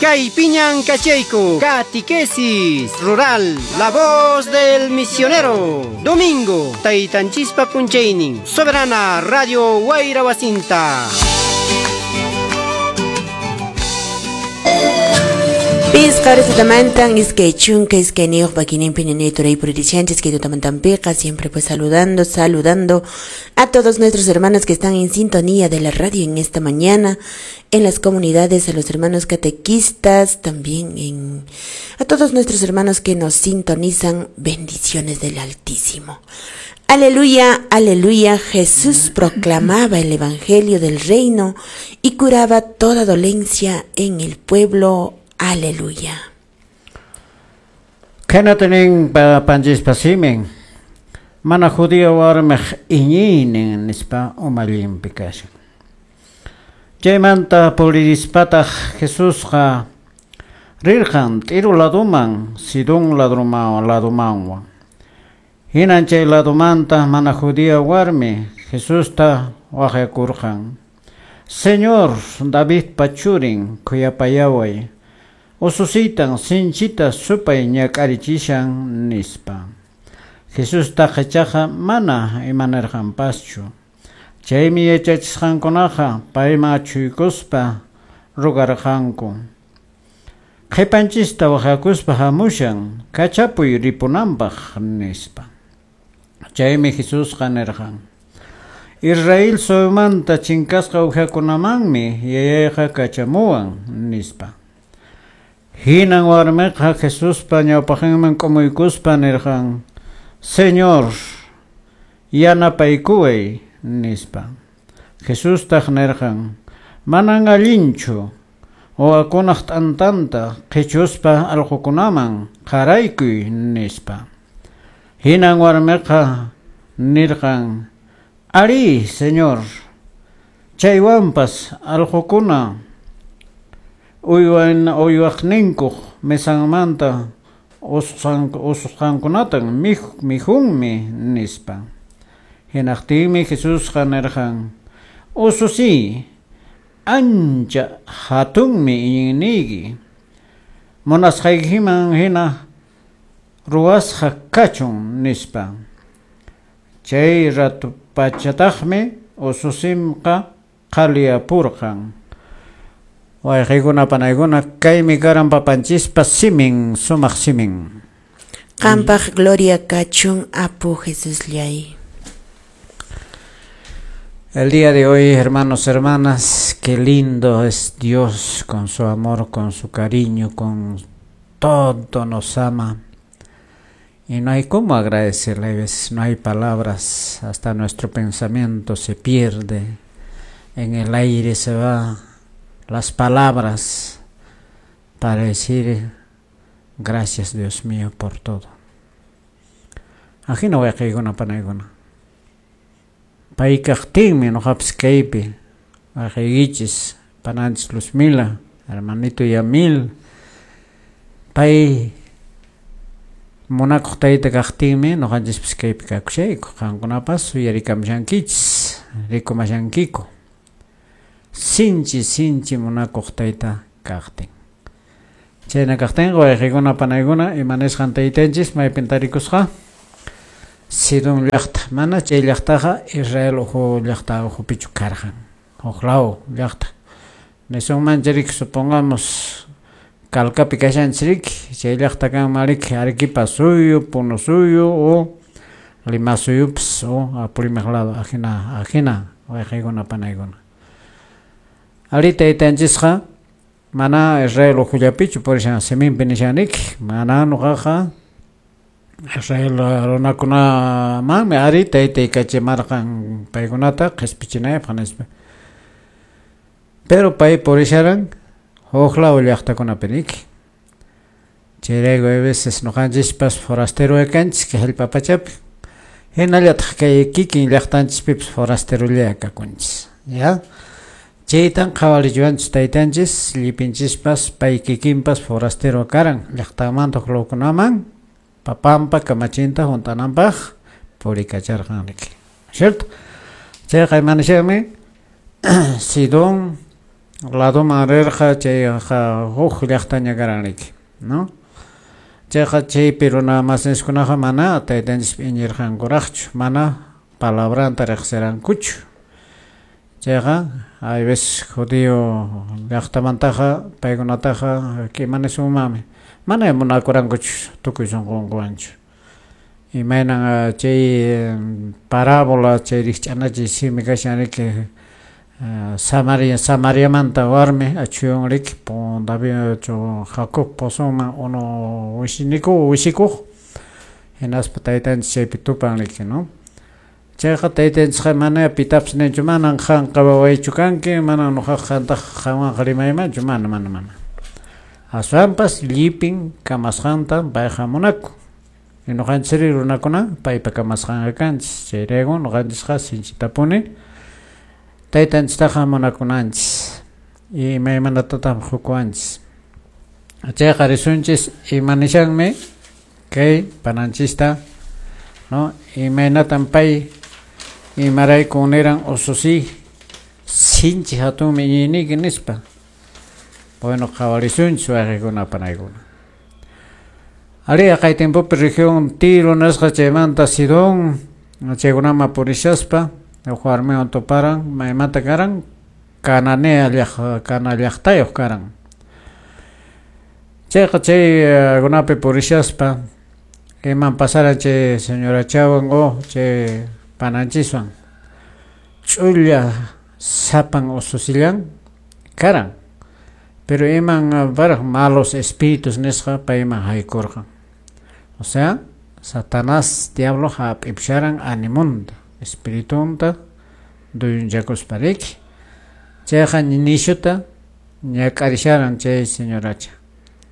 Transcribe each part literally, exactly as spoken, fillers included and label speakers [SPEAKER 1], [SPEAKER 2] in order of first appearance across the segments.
[SPEAKER 1] Kaypiñan kachayku, Catequesis Rural, La Voz del Misionero. Domingo, Taytanchispa p'unchaynin, Soberana Radio Wayra Wasinta.
[SPEAKER 2] Pisqaritamantan iskay chunka iskayniyuq pakininpi ñañay turay puririshanchis kay tutamantanpiqa, siempre pues saludando, saludando a todos nuestros hermanos que están en sintonía de la radio en esta mañana, en las comunidades, a los hermanos catequistas, también en a todos nuestros hermanos que nos sintonizan, bendiciones del Altísimo. Aleluya, aleluya, Jesús proclamaba el evangelio del reino y curaba toda dolencia en el pueblo. Aleluya.
[SPEAKER 3] Khanatanin panchispa simin mana judío warmiq iñiynin nispa umallinpi kashan. Chaymanta puririspataq Jesusqa rirqan Tiro laduman, Sidón ladumanwan. Hinan chay ladumanta mana judía warmi Jesusta waqyakurqan. Señor Davidpa churin khuyapayaway. Ususitan sinchita supay ñak'arichishan nispa. Jesusta ichaqa mana imanirqanpaschu. Chaymi yachachisqankunaqa payman achhuykuspa rugarqanku. Qhipanchista waqyakuspa hamushan kachapuy ripunanpaq nispa. Chaymi Jesusqa nirqan: Israel suyumanta chinkasqa uwihakunamanmi yayayqa kachamuwan nispa. Hinan warmiqa Jesuspa ñawpaqinman k'umuykuspa nirqan: Señor, yanapaykuway nispa. Jesustaq nirqan: Manan allinchu wawakunaq t'antanta qhichuspa allqukunaman qaraykuy nispa. Hinan warmiqa nirqan: Ari, Señor, chaywanpas allqukuna uywan uywaqninkuq mesanmanta ususqankunatan mikhunmi nispa. Hinaqtinmi Jesusqa nirqan: Ususi, ancha hatunmi iñiyniyki, munasqaykiman hina ruwasqa kachun nispa. Chay ratu pachataqmi ususinqa qhaliyapurqan. Wayqikuna panaykuna kaymi karan papanchispa simin, sumaq simin.
[SPEAKER 2] Qampaq gloria kachun apu Jesusllay.
[SPEAKER 3] El día de hoy, hermanos, hermanas, qué lindo es Dios con su amor, con su cariño, con todo nos ama. Y no hay cómo agradecerle, a veces no hay palabras, hasta nuestro pensamiento se pierde, en el aire se va las palabras para decir gracias Dios mío por todo. Ajina wayqaykuna panaykuna. Paykaqtinmi noqapis kaypi wayqaykichis pananchis Luzmila, hermanito Yamil, pay munakuq tayta kaqtinmi noqanchispis kaypi kakushayku, qankunapas uyarikamushankichis, rikumashankiku. Sinchi sinchi munakuq tayta kaqtin. Chayna kaqtinqa wayqikuna panaykuna imanisqan taytanchis maypin tarikusqa Sidón llaqta. Mana chay llaqtaqa Israel uhu llaqta uhupichu karqan. Huk law llaqta. Nisunman riki, supongamos Calcapi kashanchis riki, chay llaqta kanman riki Arequipa suyu, Puno suyu o Lima suyupas o Apurímac lado, ajina ajina wayqikuna panaykuna. Ari taytanchisqa mana Israel uhullapichu purishan siminpi nishaniki, mana nuqaqa Israel runakunamanmi ari taytay kachimarqan paykunata qhispichinaypaq nispa. Pero pay purisharan huk law llaqtakunapi riki. Chayrayku a veces nuqanchispas forastero kanchis kay hallp'a pachapi. Hinallataq kay kikin llaqtanchispipas forasterolla kakunchis. Ya? Chaytan qhawarichiwanchis taytanchis, llipinchispas pay kikinpas forastero karan llaqtamanta huk lawkunaman papanpa kamachinta hunt'ananpaq purikacharqan riki. ¿Cierto? Chayqa imanishanmi Sidón Ladoman rirqa chayqa huk llaqtaña karan riki, no? Chayqa chaypi runa masinskunaqa mana taytanchispi iñirqankuraqchu, mana palabranta riqsirankuchu. Chayqa hay veces judío llaqtamantaqa paykunataqa kimanisunmanmi mana munakurankuchu tukuy sunqunkuwanchu. Imaynan chay parábola chay rikch'anachiy simi kashan riki Samaria Samariamanta warmi achuyun riki David Jacob pozoman unu wisiniku wisikuq hinaspa taytanchis chaypi tupan riki, no? Chayqa taytanchisqa mana pitapas ninchu manan qanqa wawaychu kanki, manan nuqaqa qantaqa qanwanqa rimaymanchu, mana mana mana. Aswanpas llipin kamasqanta payqa munakun. Y nuqanchis runakuna paypa kamasqanqa kanchis. Chayrayku nuqanchisqa sinchitapuni taytanchistaqa munakunanchis. Imaymanatatam hukuwanchis. Chayqa risunchis imanishanmi kay pananchista, no? Imaynatan pay imarayku niran ususi sinchi hatunmi iñiyniyki nispa. Bueno, qhawarisunchis wayqikuna panaykuna. Ari kay tiempopi región Tiro nisqa chaymanta Sidón chaykunaman purishaspa huk warmiwan tuparan maymanta karan Cananea llaq Cana llaqtayuq karan. Chayqa chaykunapi purishaspa iman pasaran chay señorachawan o chay pananchiswan ch'ulla sapan ususillan karan. Pero iman paraq malos espíritus nisqa payman haykurqan. O sea, Satanás diablo hap'ipusharan animunta, espiritunta duyunchakuspa riki. Chayqa nishuta ñak'arisharan chay señoracha.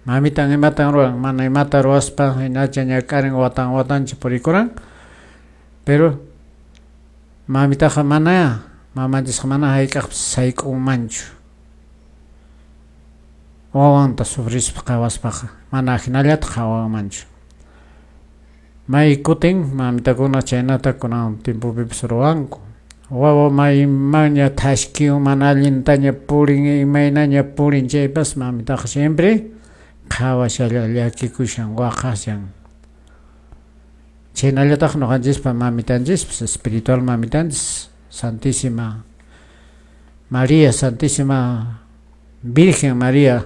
[SPEAKER 3] Mamitan imatan ruwan, mana imata ruwaspa hinacha ñak'arin watan watancha purikuran. Pero mamitaqa mana, mamanchisqa mana hayk'aqpas sayk'unmanchu. Wawanta sufrispa qhawaspaqa mana hinallata qhawanmanchu. May kutin mamitakuna chaynata kunan tiempopipas ruwanku. Wawa maymanña thashkiwan mana allintaña purin imaynaña purin chaypas mamitaqa siempre qhawashalla llakikushan waqashan. Chaynallataq nuqanchispa mamitanchispas espiritual mamitanchis Santísima María, Santísima Virgen María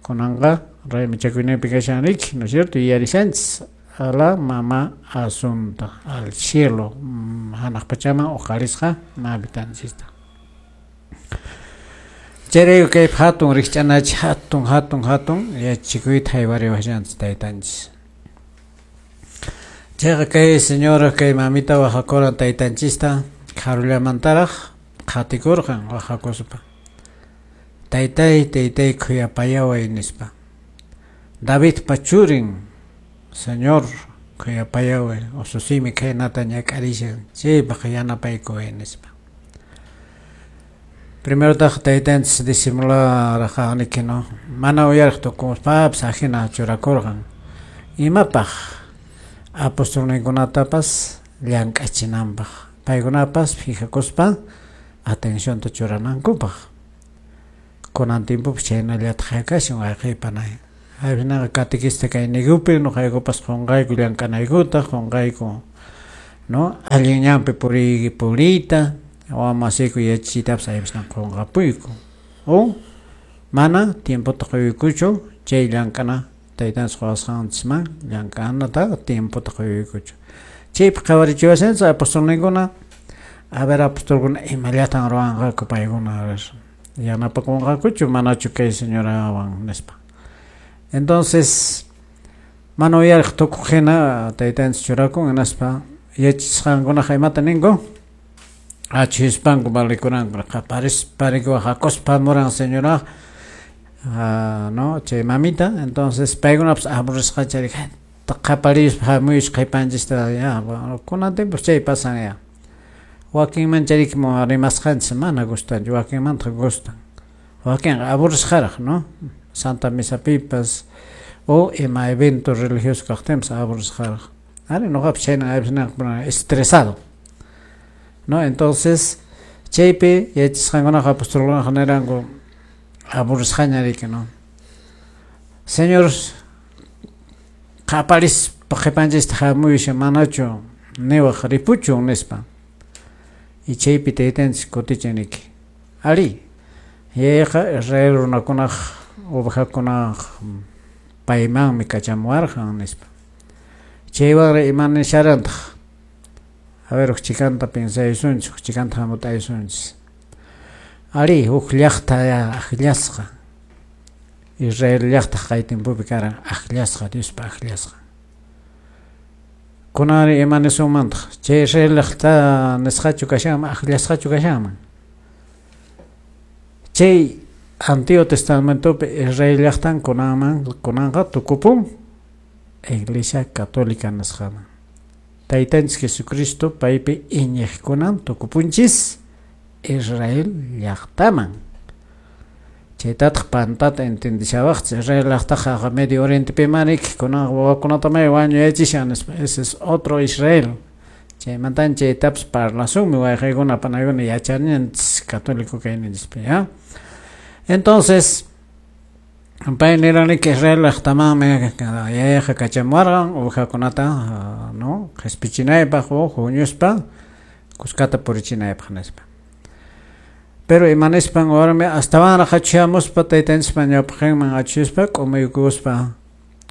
[SPEAKER 3] kunanqa raymichakuyninpi kashan riki, ¿no es cierto? Yuyarishanchis a la mamá Asunta, al cielo, hanaq pachaman uqarisqa mamitanchista. Chayrayku kay hatun rikch'anachi hatun hatun hatun yachachikuyta haywariwashanchis taytanchis. Chayqa kay señora kay mamita waqakuran taytanchista karullamantaraq qhatikurqan waqakuspa. Taytay, taytay khuyapayaway nispa. Davidpa churin, Señor, khuyapayaway, ususiymi khaynata ñak'arishan, chaypaq yanapaykuway nispa. Primerotaq taytanchis disimularqaniki, no? Mana uyariq tukuspapas ajina churakurqan. Imapaq apostolninkunatapas llank'achinanpaq, paykunapas fijakuspa atencionta churanankupaq. Kunan tiempopi chaynallataq kashan wayqiypanay. Haypinaqa catequista kayniykupi nuqaykupas qunqayku llank'anaykuta, qunqayku, no? Allin ñanpi puriy puriyta, wawamasiyku yachachiytapas haypasna qunqapuyku. O mana tiempota quykuchu chay llank'ana taytanchis quwasqanchisman llank'anata tiempota quykuchu. Chaypi qhawarichiwashanchis apostolninkuna, a ver apostolkuna imallatan ruwanqaku paykuna yanapakunqakuchu manachu kay señorawan nispa. Entonces mana uyariq tukuq hina taytanchis churakun hinaspa yachachisqankunaqa imata ninku achhispanku valikuranku qaparispa riki waqakuspa muran señora no chay mamita. Entonces paykunapas aburrisqacha riki qaparispa hamuyusqa qhipanchista ya kunan tiempos chay pasan ya. Wakinman chariki rimasqanchis mana gustanchu, wakinmantaq gustan. Wakinqa aburrisqaraq, no? Santa Misapipas o ima evento religioso kaqtinpas aburrisqaraq. Ari nuqapas chhayna estresado, no? Entonces chaypi yachasqankunaqa apostolkunaqa niranku Aburrisqaña riki, no? Señor, qaparispa qhipanchista hamuyushan manachu niwaq ripuchun nispa. Y chaypi taytanchis kutichin riki. Ari, yayqa Israel runakunaq ovejakunaq paymanmi kachamuwarqan nispa. Chaywanri ima nisharantaq? A ver, huk chikanta piensaysunchis, huk chikanta hamut'aysunchis. Ari, huk llaqta akllasqa. Israel llaqta kay tiempopi karan akllasqa, Diospa akllasqa. Kunanri ima nisunmantaq? Chay Israel llaqta nisqachu kashanman, akllasqachu kashanman? Chay Antiguo Testamentopi Israel llaqtan kunanman kunanqa tukupun Iglesia Católica nisqaman. Taytanchis Jesucristo paypi iñiqkunan tukupunchis Israel llaqtaman. Chaytataq pantata entendishawaqchis Israel llaqtaqa Medio Orientepi maniki kunanqa wawakunata may wañuyachishan nispa. Ese es otro Israel. Chaymantan chaytapas parlasunmi wayqaykuna panaykuna yachananchis católico kayninchispi, ¿ya? Entonces, pay niraniki Israel llaqtamanmi yayayqa kachamuwarqan ovejakunata, no, qhispichinaypaq o huñuspa kuskata purichinaypaq nispa. Pero ima nispan warmi astawanraq achuyamuspa taytanchispa ñawpaqinman achuyuspa k'umuykuspa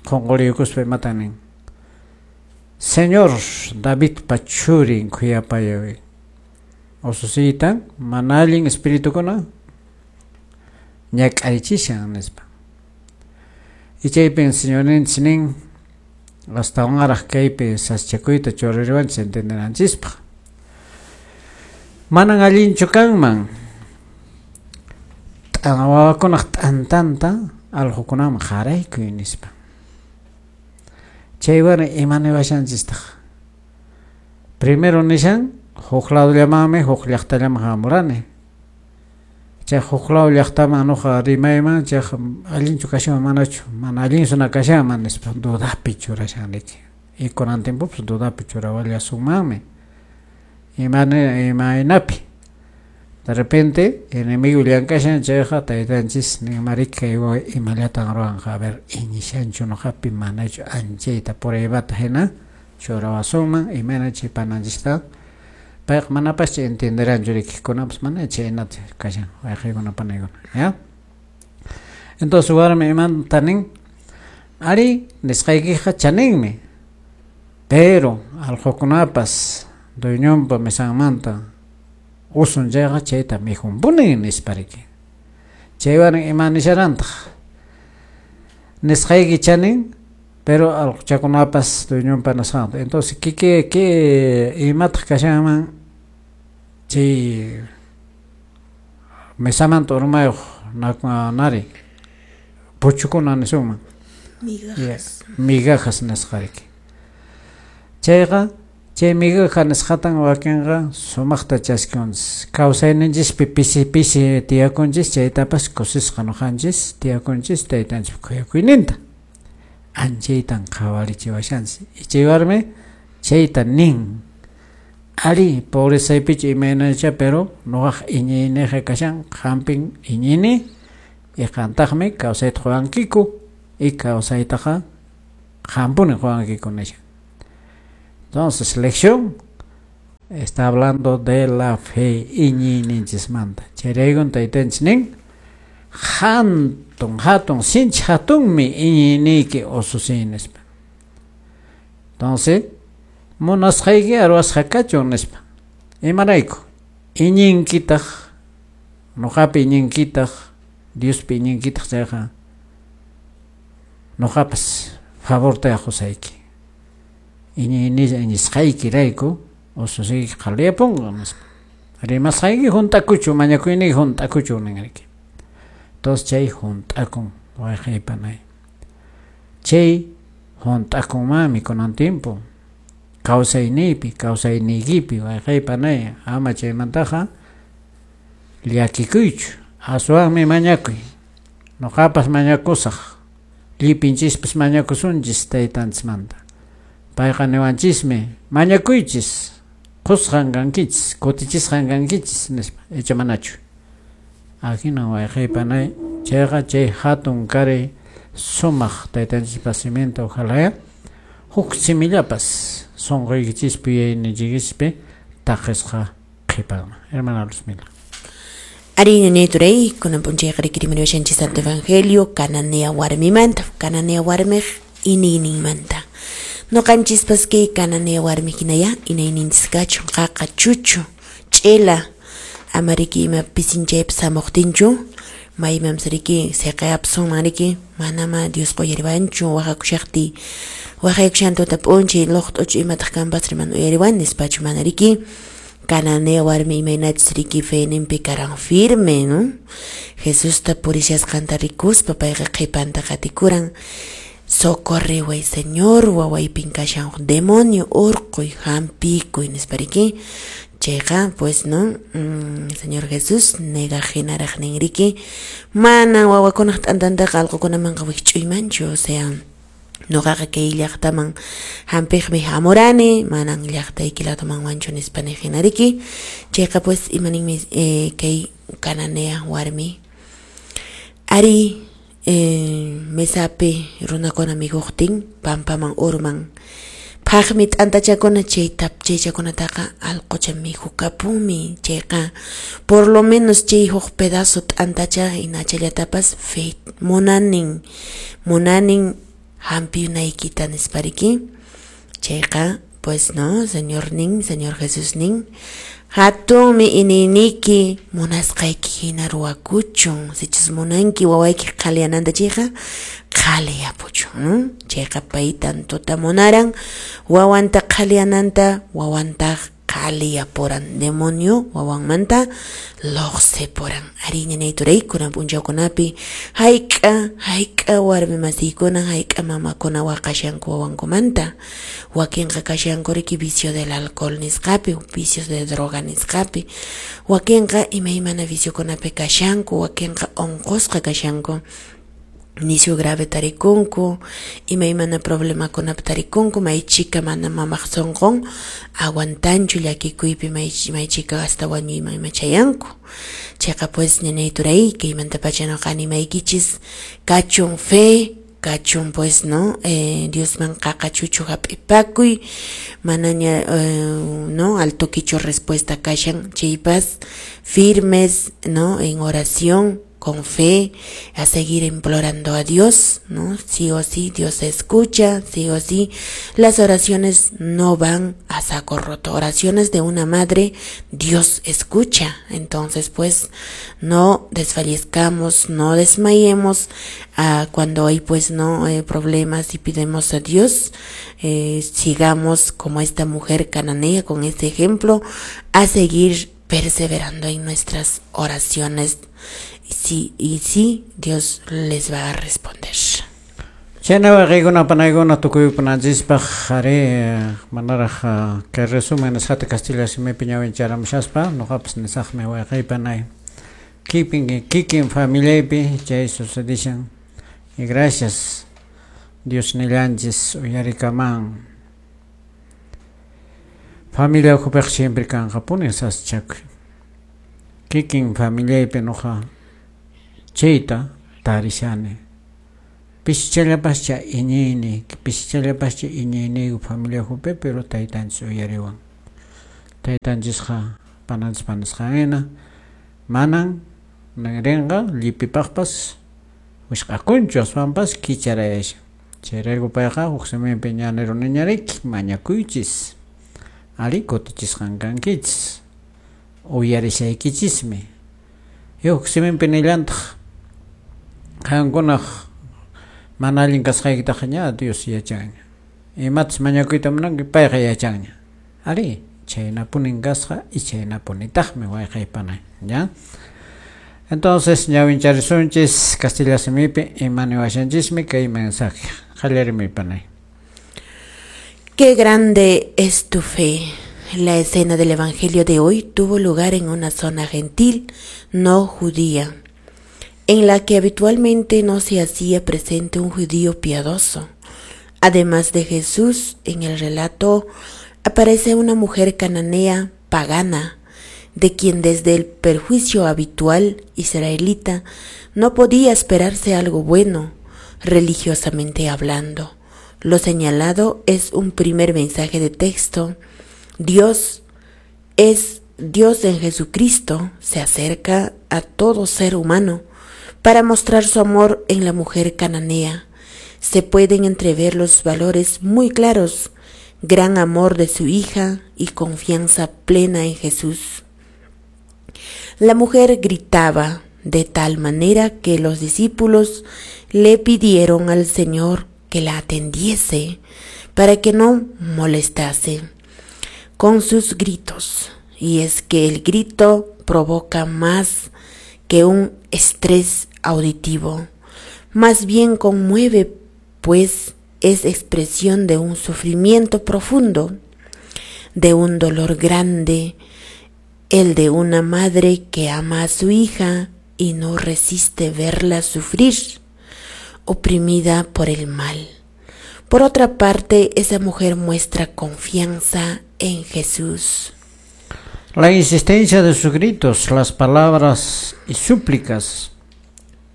[SPEAKER 3] qunquriykuspa imatan nin. Señor Davidpa churin khuyapayaway. Ususiytan mana allin espiritukuna ñak'arichishan nispa. Y chaypin señorninchis nin astawanraq kaypi saschakuyta churariwanchis entendenanchispaq. Manan allinchu kanman wawakunaq t'antanta allqukunaman qaraykuy nispa. Chaywan ima niwashanchistaq? Primero nishan huk ladollamanmi huk llaqtallaman hamurani. Chay huk lado llaqtaman nuqa rimayman chayqa allinchu kashanman manachu, mana allinsuna kashanman nispa dudapi churashan riki. Y kunan tiempopas dudapi churawallasunmanmi. Imaynapi? De repente, enemigo llank'ashan chayqa taytanchis ninmariki kay wawa imallatan ruwanqa, a ver, iñishanchu nuqapi manachu anchayta pruebata hina churawasunman imayna chay pananchista payqa manapascha entenderanchu riki kunapas mana chaynata kashan wayqaykuna panaykuna, ¿ya? Entonces warmi imanta nin, ari nisqaykiqa chaninmi, pero allqukunapas dueñonpa mesanmanta usun chayqa chayta mikhunpuni nispa riki. Chaywan ima nisharantaq? Nisqayki chanin, pero allquchakunapas dueñonpa nisqanta. Entonces, ¿qué, qué, qué imataq kashanman chay mesamanta urmayuq nari puchukuna nisunman?
[SPEAKER 2] Migajas.
[SPEAKER 3] Migajas nisqa riki. Chayqa chay migaja nisqatan wakinqa sumaqta chaskiwanchis. Kawsayninchispi pisi pisi tiyakunchis chaytapas kusisqa nuqanchis tiyakunchis taytanchispa khuyakuyninta. Anchaytan qhawarichiwashanchis. Y chay warmi chayta nin. Ari, pobrezaypichu imaynacha, pero nuqaq iñiyniqa kashan qampin iñini y qantaqmi kawsayta quwankiku y kawsaytaqa qampuni quwankiku nishan. Entonces, lección está hablando de la fe iñiyninchismanta. Chayraykun taytanchis nin hatun hatun sinchi hatunmi iñiyniyki ususiy nispa. Entonces, munasqayki ruwasqa kachun nispa. Imarayku? Iñinkitaq, nuqapi iñinkitaq, Diospi iñinkitaq chayqa nuqapas favorta qusayki. Iñiyni iñisqaykirayku ususiyki qhaliyapunqa nispa. Rimasqayki hunt'akuchu, mañakuyniyki hunt'akuchu ninriki. Entonces chay hunt'akun wayqey panay. Chay hunt'akunmanmi kunan tiempo. Kawsayniypi, kawsayniykipi wayqey panay, ama chaymantaqa llakikuychu, aswanmi mañakuy. Nuqapas mañakusaq, llipinchispas mañakusunchis taytanchismanta. Payqa niwanchismi, mañakuychis, qusqan kankichis, kutichisqan kankichis nispa, icha manachu. Ajina wayqey panay Chayqa chay hatun karay sumaq taytanchispa siminta ojalá huk simillapas sunquykichispi yuyayniykichispi taqisqa qhipanman. Hermana Luzmila.
[SPEAKER 2] Ari ñañay kunan p'unchayqa rikirimariwashanchis Santo Evangelio Cananea warmimanta, Cananea warmiq iniyninmanta. Noqanchispas kay Cananea warmi hinaya inayninchis kachun qaqa chuchu ch'ila ama riki ima pisinchaypas hamuqtinchu maymampas riki siqayapasunman riki manama Diosqa uyariwanchu waqakushaqtiy waqaykushan tuta p'unchay luqt'uchu imataq kanpas mana uyariwan nispachu mana riki Cananea warmi imaynachus riki feninpi karan firme, ¿no? Jesusta purishasqanta rikuspa payqa qhipanta qatikuran. Socorriway Señor, wawaypin kashan demonio urquy hampikuy nispa riki. Chayqa pues no, mm, Señor Jesús negaq hinaraq nin riki mana wawakunaq t'antantaqa allqukunamanqa wikch'uymanchu, o sea noqaqa kay llaqtaman hampiqmi hamurani manan llaqtayki ladomanwanchu nispa niq hina riki. Chayqa pues imaninmi eh, kay Cananea warmi ari eh, mesapi runakuna mikhuqtin pampaman urman phaqmi t'antachakuna chay chaychakunataqa allqucha mikhukapunmi. Chayqa por lo menos chay huk pedazo t'antacha hinachallatapas fe munanin munanin hampiyunaykita nispa riki. Chayqa pues no, Señor nin, Señor Jesús nin, hatunmi iniyniki munasqayki hina ruwakuchun, sichus munanki wawayki qhaliyananta chayqa qhaliyapuchun, ¿no? Chayqa pay tantota munaran wawanta qhaliyananta, wawantaq qhaliyapuran demonio wawanmanta luqsipuran. Ari ñañay turay kunan p'unchawkunapi hayk'a hayk'a warmi masiykuna hayk'a mamakuna waqashanku wawankumanta, wakinqa kashanku riki vicio del alcohol nisqapi, vicios de droga nisqapi, wakinqa imaymana viciokunapi kashanku, wakinqa unqusqa kashanku, nisyu grave tarikunku, imaymana problemakunapi tarikunku, maychika mana mamaq sunqun aguantanchu llakikuypi may maychika hasta wañuyman ima chayanku. Chayqa pues ñañay turay kaymantapacha noqa animaykichis kachun fe, kachun pues no, eh, Diosman qaqa chuchu hap'ipakuy, manaña eh, no al toquicho respuesta kashan chaypas firmes, no, en oración con fe, a seguir implorando a Dios, ¿no? Sí o sí, Dios escucha, sí o sí, las oraciones no van a saco roto, oraciones de una madre, Dios escucha. Entonces, pues, no desfallezcamos, no desmayemos, ah, cuando hay, pues, no, eh, problemas y pedimos a Dios, eh, sigamos como esta mujer cananea, con este ejemplo, a seguir perseverando en nuestras oraciones. Sí, y sí, Dios les va a responder.
[SPEAKER 3] Chayna wayqiykuna panaykuna tukuypunanchispaq ari manaraq kay resumen nisqata kastilla simipi ñawincharamushaspa noqapas nisaqmi wayqiy panay kikin kikin familiaypi chay sucedishan y gracias Dios nillanchis uyarikaman familia ukhupiqa siempre kanqapuni sasachakuy kikin familiaypi noqa chayta tarishani pishichallapascha iñiyni pishichallapascha iñiyniyku familia ukhupi pero taytanchis uyariwan taytanchisqa pananchis panisqan manan rinqa llipipaqpas wisq'akunchu aswanpas kicharayashan chayrayku payqa huk siminpi ñaniruniñariki mañakuychis ari kutichisqan kankichis uyarisaykichismi huk siminpi nillantaq qankunaq mana allin kasqaykitaqa ña Dios yachanña imatas mañakuyta munanki payqa yachanña ari chaynapunin kasqa y chaynapunitaqmi wayqay panay ya. Entonces ñawincharisunchis kastilla simipi imaniwashanchismi kay mensaje qallarimi panay.
[SPEAKER 2] Qué grande es tu fe. La escena del Evangelio de hoy tuvo lugar en una zona gentil, no judía, en la que habitualmente no se hacía presente un judío piadoso. Además de Jesús, en el relato aparece una mujer cananea pagana, de quien desde el perjuicio habitual israelita no podía esperarse algo bueno, religiosamente hablando. Lo señalado es un primer mensaje de texto. Dios es Dios en Jesucristo, se acerca a todo ser humano para mostrar su amor en la mujer cananea. Se pueden entrever los valores muy claros: gran amor de su hija y confianza plena en Jesús. La mujer gritaba de tal manera que los discípulos le pidieron al Señor que la atendiese para que no molestase con sus gritos. Y es que el grito provoca más que un estrés auditivo, más bien conmueve, pues es expresión de un sufrimiento profundo, de un dolor grande, el de una madre que ama a su hija y no resiste verla sufrir, oprimida por el mal. Por otra parte, esa mujer muestra confianza en Jesús.
[SPEAKER 3] La insistencia de sus gritos, las palabras y súplicas,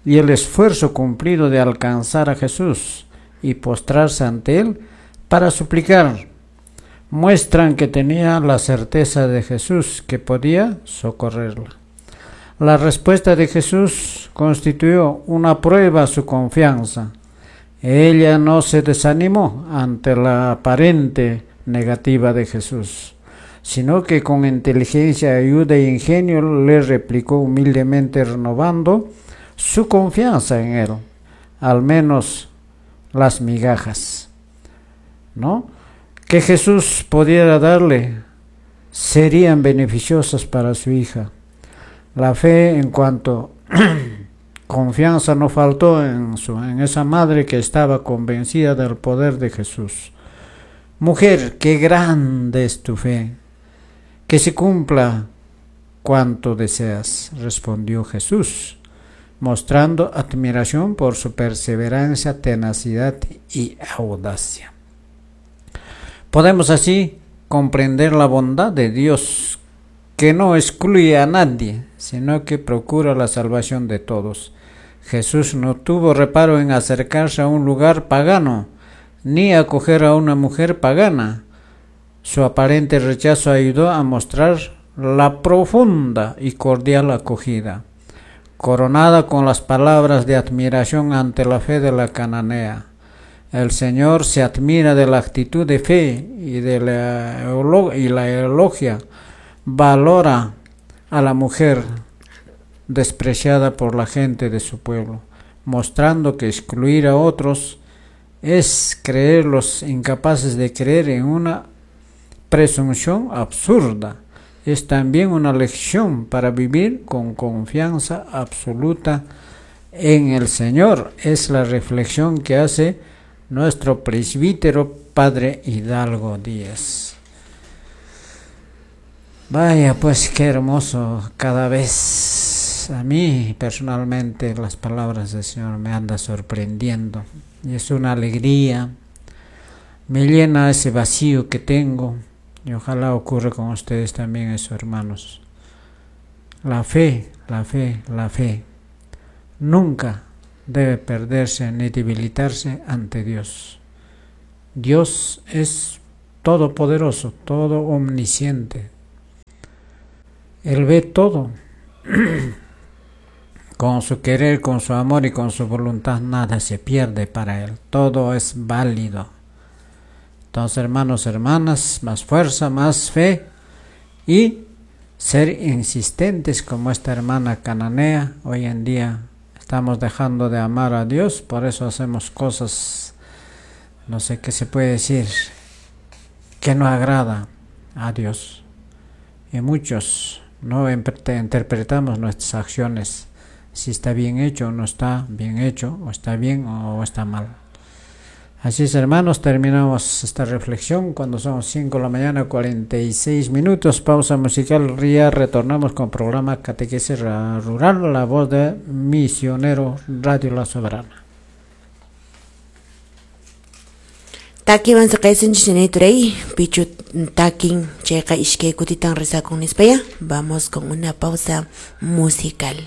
[SPEAKER 3] y el esfuerzo cumplido de alcanzar a Jesús y postrarse ante él para suplicar, muestran que tenía la certeza de Jesús que podía socorrerla. La respuesta de Jesús constituyó una prueba a su confianza. Ella no se desanimó ante la aparente negativa de Jesús, sino que con inteligencia, ayuda e ingenio le replicó humildemente, renovando su confianza en él, al menos las migajas, ¿no?, que Jesús pudiera darle serían beneficiosas para su hija. La fe en cuanto confianza no faltó en, su, en esa madre que estaba convencida del poder de Jesús. Mujer, qué grande es tu fe, que se cumpla cuanto deseas, respondió Jesús, mostrando admiración por su perseverancia, tenacidad y audacia. Podemos así comprender la bondad de Dios, que no excluye a nadie, sino que procura la salvación de todos. Jesús no tuvo reparo en acercarse a un lugar pagano, ni acoger a una mujer pagana. Su aparente rechazo ayudó a mostrar la profunda y cordial acogida, coronada con las palabras de admiración ante la fe de la cananea. El Señor se admira de la actitud de fe y de la, y la elogia. Valora a la mujer despreciada por la gente de su pueblo, mostrando que excluir a otros es creerlos incapaces de creer en una presunción absurda. Es también una lección para vivir con confianza absoluta en el Señor. Es la reflexión que hace nuestro presbítero Padre Hidalgo Díaz. Vaya, pues qué hermoso. Cada vez a mí personalmente las palabras del Señor me andan sorprendiendo. Y es una alegría, me llena ese vacío que tengo. Y ojalá ocurra con ustedes también eso, hermanos. La fe, la fe, la fe nunca debe perderse ni debilitarse ante Dios. Dios es todopoderoso, todo omnisciente. Él ve todo. Con su querer, con su amor y con su voluntad, nada se pierde para Él. Todo es válido. Entonces, hermanos, hermanas, más fuerza, más fe y ser insistentes como esta hermana cananea. Hoy en día estamos dejando de amar a Dios, por eso hacemos cosas, no sé qué se puede decir, que no agrada a Dios. Y muchos no interpretamos nuestras acciones, si está bien hecho o no está bien hecho, o está bien o está mal. Así es, hermanos, terminamos esta reflexión cuando son cinco de la mañana, cuarenta y seis minutos. Pausa musical, Ría, retornamos con programa Catequesis Rural, la voz de Misionero Radio La Soberana.
[SPEAKER 2] Takiwan saqaysunchis ñanay turay, pichu takin chayqa iskay kutitan rezakun nispaya. Vamos con una pausa musical.